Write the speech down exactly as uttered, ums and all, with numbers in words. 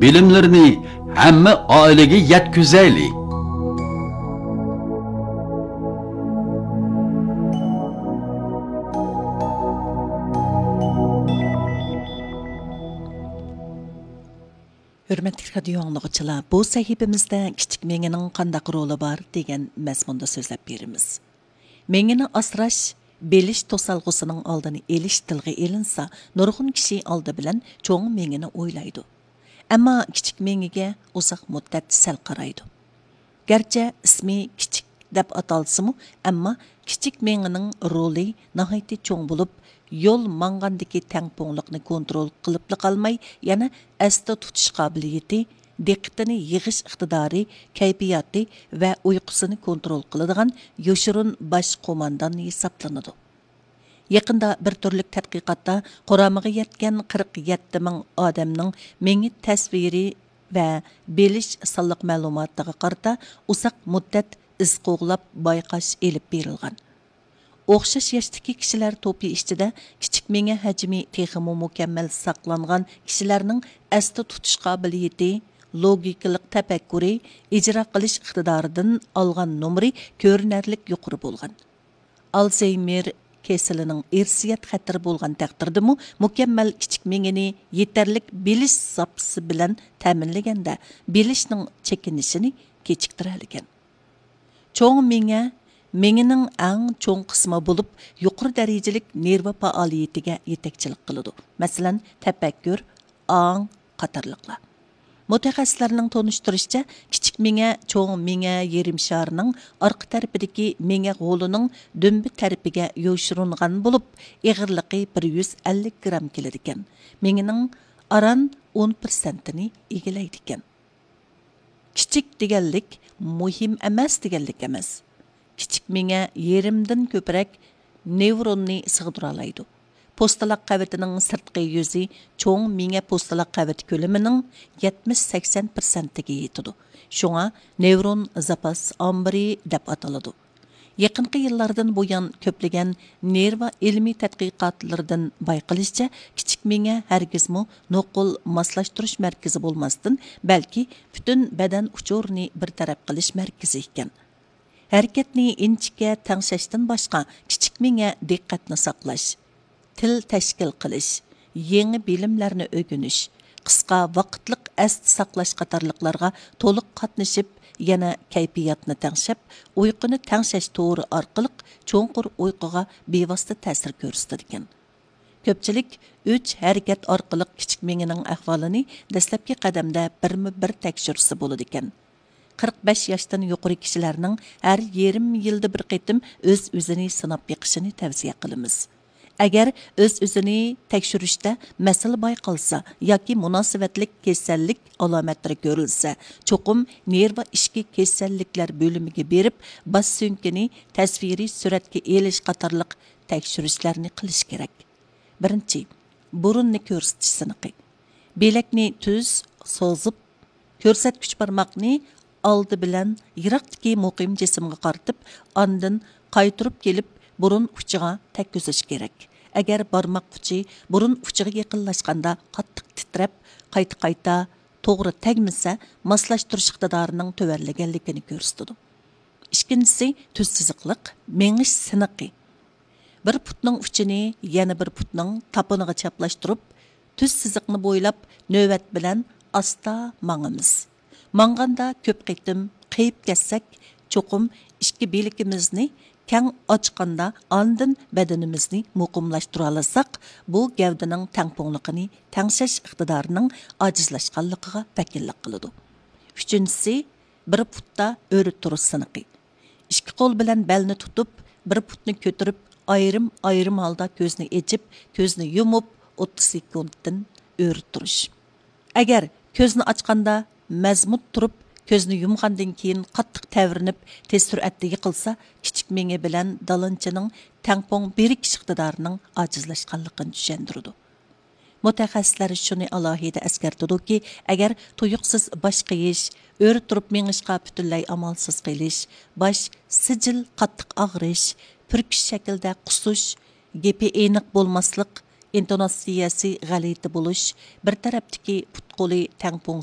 بىلىملىرىنى ھەممە ئائىلىگە يەتكۈزەيلى! ھۆرمەتلىك رادىيو ئاڭلىغۇچىلار، بۇ سەھىپىمىزدە كىچىك مېڭىنىڭ قانداق رولى بار دېگەن مەزمۇندا سۆزلەپ بېرىمىز. مېڭىنى ئاسراش، بىلىش توسالغۇسىنىڭ ئالدىنى ئېلىش تىلغا ئېلىنسا، نۇرغۇن كىشى ئالدى بىلەن چوڭ مېڭىنى ئويلايدۇ. ئەمما كىچىك مېڭىگە ئۇزاق مۇددەت سەل قارايدۇ. گەرچە ئىسمى كىچىك دەپ ئاتالسىمۇ، ئەمما كىچىك مېڭىنىڭ رولى ناھايىتى چوڭ بولۇپ، يول ماڭغاندىكى تەڭپۇڭلۇقنى كونترول قىلىپلا قالماي، يەنە ئەستە تۇتۇش قابىلىيىتى، دىققىتىنى يىغىش ئىقتىدارى، كەيپىياتى ۋە ئۇيقۇسىنى كونترول قىلىدىغان يوشۇرۇن باش قوماندان ھېسابلىنىدۇ. يېقىندا بىر تۈرلۈك تەتقىقاتتا قۇرامىغا يەتكەن قىرىق يەتتە مىڭ ئادەمنىڭ مېڭە تەسۋىرى ۋە بىلىش سانلىق مەلۇماتىغا قارىتا ئۇزاق مۇددەت ئىز قوغلاپ بايقاش ئېلىپ بېرىلغان. ئوخشاش ياشتىكى كىشىلەر توپى ئىچىدە كىچىك مېڭە ھەجمى تېخىمۇ مۇكەممەل ساقلانغان كىشىلەرنىڭ ئەستە تۇتۇش قابىلىيىتى، لوگىكىلىق تەپەككۇرى، ئىجرا قىلىش ئىقتىدارىدىن ئالغان نومۇرى كۆرۈنەرلىك يۇقىرى بولغان. ئالزھېيمېر كېسىلىنىڭ ئىرسىيەت خەتىرى بولغان تەقدىردىمۇ، مۇكەممەل كىچىك مېڭىنى يېتەرلىك بىلىش زاپىسى بىلەن تەمىنلىگەندە، بىلىشنىڭ چېكىنىشىنى كېچىكتۈرەلىگەن. چوڭ مېڭە مېڭىنىڭ ئەڭ چوڭ قىسمى بولۇپ، يۇقىرى دەرىجىلىك نېرۋا پائالىيىتىگە يېتەكچىلىك قىلىدۇ. مەسىلەن، تەپەككۇر، ئاڭ قاتارلىقلار. مۇتەخەسسىسلەرنىڭ تونۇشتۇرۇشىچە، كىچىك مېڭە چوڭ مېڭە يېرىم شارىنىڭ ئارقا تەرىپىدىكى مېڭە غولىنىڭ دۈمبە تەرىپىگە يوشۇرۇنغان بولۇپ، ئېغىرلىقى بىر يۈز ئەللىك گرام كېلىدىكەن. مېڭىنىڭ ئاران ئون پىرسەنتىنى ئىگىلەيدىكەن. كىچىك دېگەنلىك مۇھىم ئەمەس دېگەنلىك ئەمەس. كىچىك مېڭە يېرىمدىن كۆپرەك نېۋروننى سىغدۇرالايدۇ. پوستىلاق قەۋىتىنىڭ سىرتقى يۈزى چوڭ مېڭە پوستىلاق قەۋىتى كۆلىمىنىڭ يەتمىش سەكسەن پىرسەنتىگە يېتىدۇ. شۇڭا نېۋرون زاپاس ئامبىرى دەپ ئاتىلىدۇ. يېقىنقى يىللاردىن بۇيان كۆپلىگەن نېرۋا ئىلمىي تەتقىقاتلىرىدىن بايقىلىشىچە، كىچىك مېڭە ھەرگىزمۇ نوقۇل ماسلاشتۇرۇش مەركىزى بولماستىن، بەلكى پۈتۈن بەدەن ئۇچۇرىنى بىر تەرەپ قىلىش مەركىزى ئىكەن. ھەرىكەتنى ئىنچىكە تەڭشەشتىن باشقا، كىچىك مېڭە دىققەتنى ساقلاش، تىل تەشكىل قىلىش، يېڭى بىلىملەرنى ئۆگىنىش، قىسقا ۋاقىتلىق ئەستە ساقلاش قاتارلىقلارغا تولۇق قاتنىشىپ، يەنە كەيپىياتنى تەڭشەپ، ئۇيقۇنى تەڭشەش تورى ئارقىلىق چوڭقۇر ئۇيقۇغا بىۋاسىتە تەسىر كۆرسىتىدىكەن. كۆپچىلىك ئۈچ ھەرىكەت ئارقىلىق كىچىك مېڭىنىڭ ئەھۋالىنى دەسلەپكى قەدەمدە بىرمۇ بىر تەكشۈرسە بولىدىكەن. قىرىق بەش ياشتىن يۇقىرى كىشىلەرنىڭ ھەر يېرىم يىلدا بىر قېتىم ئۆز-ئۆزىنى سىناپ بېقىشىنى تەۋسىيە قىلىمىز. ئەگەر ئۆز-ئۆزىنى تەكشۈرۈشتە مەسىلە بايقالسا ياكى مۇناسىۋەتلىك كېسەللىك ئالامەتلىرى كۆرۈلسە، چوقۇم نېرۋا ئىچكى كېسەللىكلەر بۆلۈمىگە بېرىپ، باش سۆڭىكىنى تەسۋىرىي سۈرەتكە ئېلىش قاتارلىق تەكشۈرۈشلەرنى قىلىش كېرەك. بىرىنچى، بۇرۇننى كۆرسىتىش سىنىقى. بىلەكنى تۈز سوزۇپ، كۆرسەتكۈچ بارماقنى ئالدى بىلەن يىراقتىكى مۇقىم جىسىمغا قارىتىپ، ئاندىن قايتۇرۇپ كېلىپ، بۇرۇن ئۇچىغا تەگكۈزۈش كېرەك. ئەگەر بارماق ئۇچى بۇرۇن ئۇچىغا يېقىنلاشقاندا قاتتىق تىترەپ، قايتا-قايتا توغرا تەگمىسە، ماسلاشتۇرۇش ئىقتىدارىنىڭ تۆۋەنلىگەنلىكىنى كۆرسىتىدۇ. ئىككىنچىسى، تۈز سىزىقلىق مېڭىش سىنىقى. بىر پۇتنىڭ ئۇچىنى يەنە بىر پۇتنىڭ تاپىنىغا چاپلاشتۇرۇپ، تۈز سىزىقنى بويلاپ نۆۋەت بىلەن ئاستا ماڭىمىز. ماڭغاندا كۆپ قېتىم قېيىپ كەتسەك، چوقۇم ئىككى بىلىكىمىزنى كەڭ ئاچقاندا ئاندىن بەدىنىمىزنى مۇقىملاشتۇرالىساق، بۇ گەۋدىنىڭ تەڭپۇڭلۇقىنى تەڭشەش ئىقتىدارىنىڭ ئاجىزلاشقانلىقىغا ۋەكىللىك قىلىدۇ. ئۈچىنچىسى، بىر پۇتتا ئۆرە تۇرۇش سىنىقى. ئىككى قول بىلەن بەلنى تۇتۇپ، بىر پۇتنى كۆتۈرۈپ، ئايرىم-ئايرىم ھالدا كۆزنى ئېچىپ، كۆزنى يۇمۇپ، ئوتتۇز سېكۇنتتىن ئۆرە تۇرۇش. ئەگەر كۆزنى ئاچقاندا مەزمۇت تۇرۇپ، كۆزنى يۇمغاندىن كېيىن قاتتىق تەۋرىنىپ، تېز سۈرئەتتە يىقىلسا، كىچىك مېڭە بىلەن دالانچىنىڭ تەڭپۇڭ بىرىكىش ئىقتىدارىنىڭ ئاجىزلاشقانلىقىنى چۈشەندۈرىدۇ. مۇتەخەسسىسلەر شۇنى ئالاھىدە ئەسكەرتىدۇكى، ئەگەر تۇيۇقسىز باش قېيىش، ئۆرە تۇرۇپ مېڭىشقا پۈتۈنلەي ئامالسىز قېلىش، باش سىجىل قاتتىق ئاغرىش، پۈركۈش شەكلىدە قۇسۇش، گېپى ئېنىق بولماسلىق، ئىنتوناتسىيەسى غەلىتە بولۇش، بىر تەرەپتىكى پۇت-قولى تەڭپۇڭ